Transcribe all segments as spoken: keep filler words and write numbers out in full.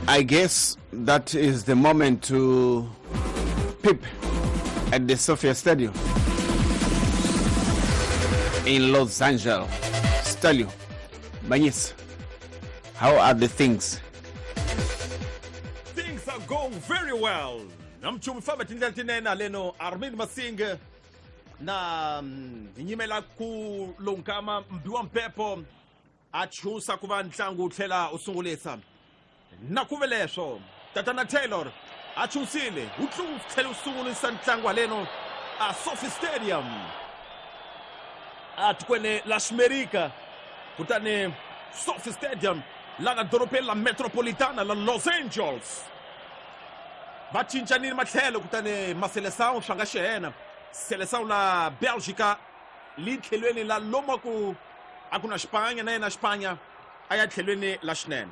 I guess that is the moment to peep at the SoFi Stadium in Los Angeles. Stelio, Banyis, how are the things? Things are going very well. Namchumi famba tindlela tinene haleno Armin Masinga na hi nyimela ku lonkama mbiwa mpepo a chusa ku va ntlangu wu tlhela wu sungulisa na ku ve leswo tatana Taylor a chusile wu tlhela wu sungulisa ntlangu haleno a SoFi Stadium a tikweni la Ximerika kutani SoFi Stadium la nga dorobeni la Metropolitana la Los Angeles va cincanile matlhelo kutani Maselesão swa nga xihena Seleção la Bélgica li tlhelweni la lomu ku a ku na Xipanya na yena Xipanya a ya tlhelweni la xinene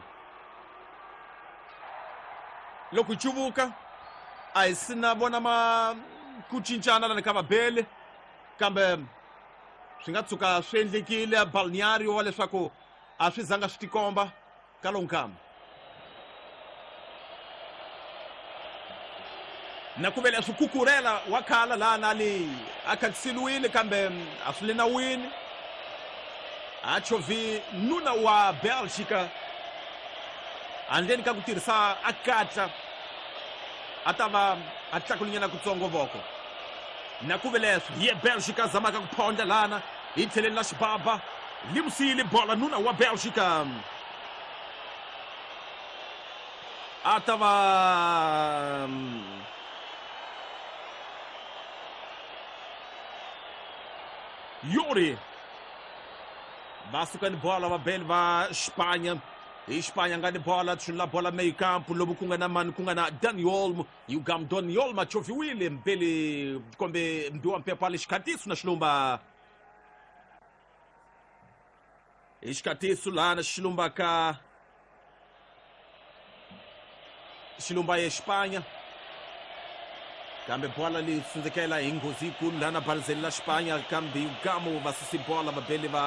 loko cuvuka a hi sina vona ma ku cincana lani ka vabeli kambe swi nga tshuka swi endlekile balneario wa leswaku a swi zanga swi tikomba ka lowu nkama na ku vele swi kukurela wa khala laha na le a khatisiliwile kambe a swi le nawini a chovhi nuna wa Bélgica handleni ka ku tirhisa a katla a ta va a tlakulinyana kutsongo voko na ku ve leswi ye Bélgica zamaka ku phondla lana hi tlheleni la xibaba limusile bola nuna wa Bélgica a ta va Yuri va suka ni bola vabeli va Xipanya hi Xipanya nga ni bola tshunula bola meio campo lomu ku nga na mani ku nga na Dani Olmo Yugam Dani Olmo a choviwile mbeli kombe mbiwa mpepo ali xikhatiso na xilumba hi xikhatiso lana xilumba ka xilumba ye Xipanya kambe bola li tsundzekela hi nghozi yikulu lana balizeli la Xipanya kambe Yugamo va susi bola vabeli va